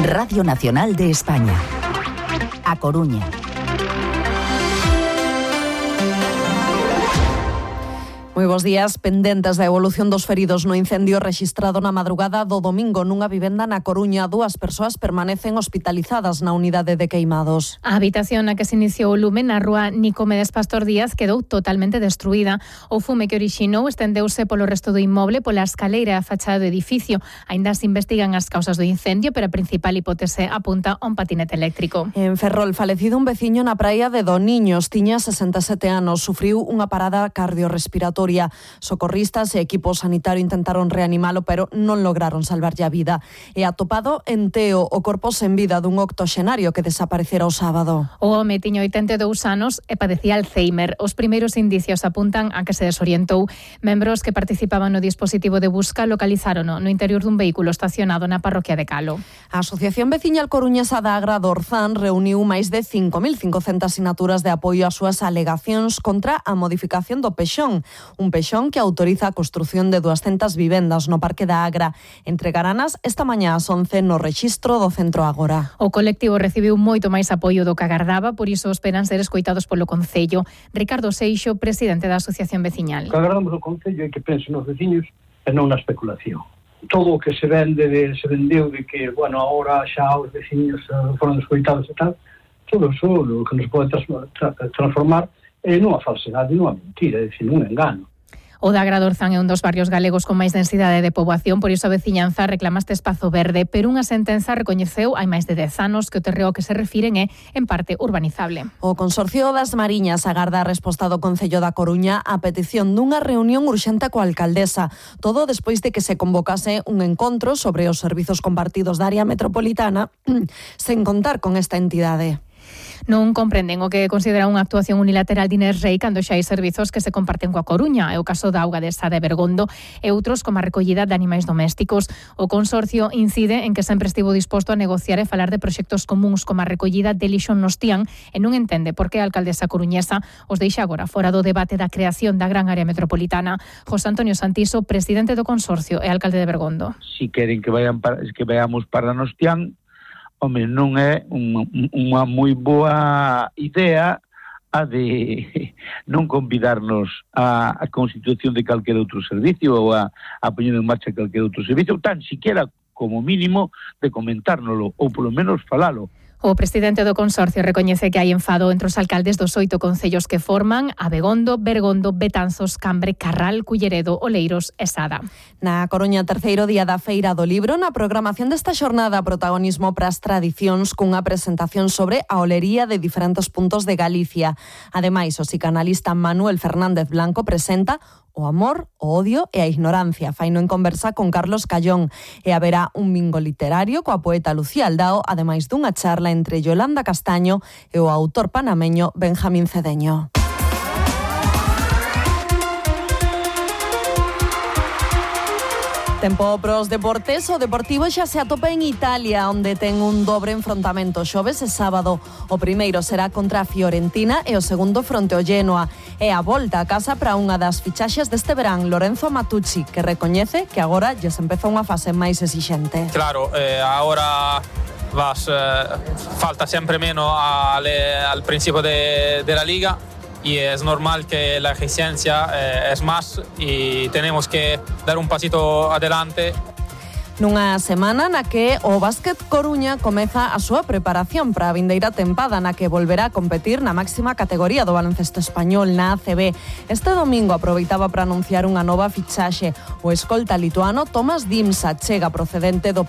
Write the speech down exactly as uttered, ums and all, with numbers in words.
Radio Nacional de España. A Coruña. Moi bos días, pendentes da evolución dos feridos no incendio rexistrado na madrugada do domingo nunha vivenda na Coruña. Dúas persoas permanecen hospitalizadas na unidade de queimados. A habitación na que se iniciou o lume na rúa Nicomedes Pastor Díaz quedou totalmente destruída. O fume que orixinou estendeuse polo resto do inmoble, pola escaleira e a fachada do edificio. Aínda se investigan as causas do incendio, pero a principal hipótese apunta a un patinete eléctrico. En Ferrol, falecido un veciño na praia de Doniños, tiña sesenta e sete anos, sufriu unha parada cardiorrespiratoria. Socorristas e equipo sanitario intentaron reanimalo, pero non lograron salvarlle a vida. E atopado en Teo o corpo sen vida dun octoxenario que desaparecera o sábado. O home tiña oitenta e dous anos e padecía Alzheimer. Os primeiros indicios apuntan a que se desorientou. Membros que participaban no dispositivo de busca localizárono no interior dun vehículo estacionado na parroquia de Calo. A Asociación Veciñal Coruñesa da Agra do Orzán reuniu máis de cinco mil cincocentas sinaturas de apoio ás súas alegacións contra a modificación do pexón. Un pexón que autoriza a construción de duascentas vivendas no Parque da Agra. Entregaranas esta mañá ás once no rexistro do Centro Agora. O colectivo recibiu moito máis apoio do que agardaba, por iso esperan ser escoitados polo Concello. Ricardo Seixo, presidente da Asociación Veciñal. O que agardamos do Concello é que pensen nos veciños e non na especulación. Todo o que se vende, de, se vendeu de que, bueno, agora xa os veciños foron escoitados e tal, todo iso o que nos pode trans, tra, transformar é nunha falsedade, nunha mentira, é dicir, nun engano. O da Agra do Orzán é un dos barrios galegos con máis densidade de poboación, por iso a veciñanza reclama este espazo verde, pero unha sentenza recoñeceu hai máis de dez anos que o terreo que se refiren é, en parte, urbanizable. O Consorcio das Mariñas agarda a resposta do Concello da Coruña á petición dunha reunión urxente coa alcaldesa, todo despois de que se convocase un encontro sobre os servizos compartidos da área metropolitana sen contar con esta entidade. Non comprenden o que considera unha actuación unilateral de Inés Rei cando xa hai servizos que se comparten coa Coruña. É o caso da auga de Sada e Bergondo e outros como a recollida de animais domésticos. O consorcio incide en que sempre estivo disposto a negociar e falar de proxectos comuns como a recollida de lixo nos Tián e non entende por que a alcaldesa coruñesa os deixa agora fora do debate da creación da gran área metropolitana. José Antonio Santiso, presidente do consorcio e alcalde de Bergondo. Si queren que vayan para, que vayamos para nos Tián, home, non é unha, unha moi boa idea a de non convidarnos a, a constitución de calquer outro servicio ou a, a poñer en marcha calquer outro servicio, tan siquiera como mínimo de comentárnoslo ou polo menos falalo. O presidente do consorcio recoñece que hai enfado entre os alcaldes dos oito concellos que forman Abegondo, Bergondo, Betanzos, Cambre, Carral, Culleredo, Oleiros e Sada. Na Coruña, terceiro día da Feira do Libro, na programación desta xornada protagonismo para as tradicións cunha presentación sobre a olería de diferentes puntos de Galicia. Ademais, o psicanalista Manuel Fernández Blanco presenta o amor, o odio e a ignorancia. Faino en conversa con Carlos Callón. E haberá un bingo literario coa poeta Lucía Aldao, ademais dunha charla entre Yolanda Castaño e o autor panameño Benjamín Cedeño. Tempo pros deportes, o Deportivo xa se atopa en Italia, onde ten un dobre enfrontamento xoves e sábado. O primeiro será contra a Fiorentina e o segundo fronte ao Genoa. E a volta a casa para unha das fichaxes deste verán, Lorenzo Matucci, que recoñece que agora lle se empeza unha fase máis exixente. Claro, eh, agora vas, eh, falta sempre menos al, al principio de, de la liga. Y es normal que la exigencia eh, es más y tenemos que dar un pasito adelante. Nunha semana na que o Básquet Coruña comeza a súa preparación para a vindeira tempada na que volverá a competir na máxima categoría do baloncesto español, na A C B. Este domingo aproveitaba para anunciar unha nova fichaxe. O escolta lituano Tomas Dimsa chega procedente do